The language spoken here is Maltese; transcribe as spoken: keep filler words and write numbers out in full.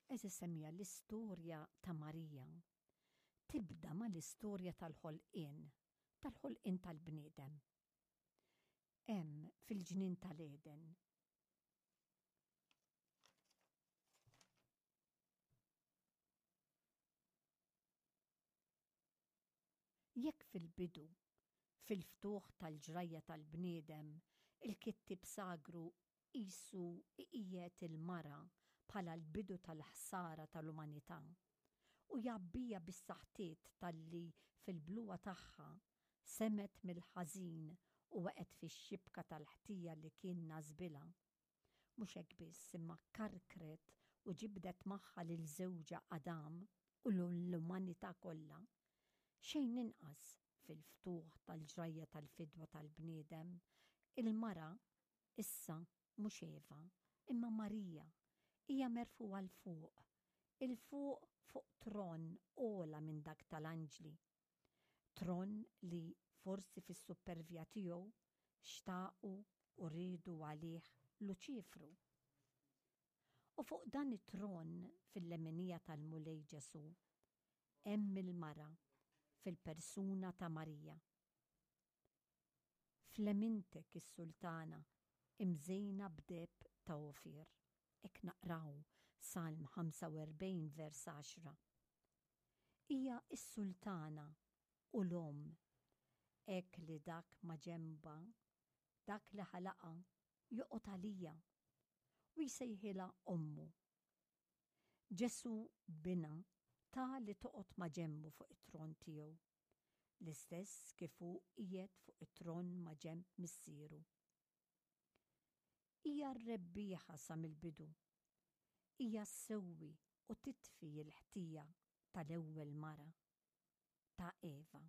Għeżież semmiegħa, l-istorja ta' Marija tibda mal-istorja tal-ħolqien, tal-ħolqien tal-bniedem. Hemm fil-ġnien tal-Eden. Jekk fil-bidu, fil-ftuħ tal-ġrajja tal-bniedem, il-kittieb sagru qisu iqiegħed il-mara bħala l-bidu tal-ħsara tal-umanità u jgħabbija bis-saħtiet talli fil-bluha tagħha semgħet mill-ħażin u waqgħet fix-xibka tal-ħtija li kien nasbilha. Mhux hekk biss, imma karkret u ġibdet magħha lil żewġha Adam u l-umanità kollha. Xejn inqas fil-ftuħ tal-ġrajja tal-fidwa tal-bniedem, il-mara issa mhux Eva, imma Marija, hija merfugħa 'l fuq, 'il fuq fuq tron ogħla minn dak tal-anġli. Tron li forsi fis-suppervja tiegħu xtaqu u riedu għalih Luċifru. U fuq dan it-tron fil-leminija tal-Mulej Ġesù hemm il-mara fil-persuna ta' Marija. F'lemintek is-sultana imżejna b'deheb ta' Ofir. Hekk naqraw Salm ħamsa u erbgħin vers għaxra. Hija s-sultana u l-omm, hekk li dak maġenbha, dak li ħalaqha, joqgħod għalija u jsejħilha ommu. Ġesù binha ta li toqgħod maġenbu fuq it-tron tiegħu, l-istess kif hu qiegħed fuq it-tron maġenb Missieru. Hija r-rebbieħa sa mill-bidu. Hija ssewwi u titfi l-ħtija tal-ewwel mara, ta' Eva.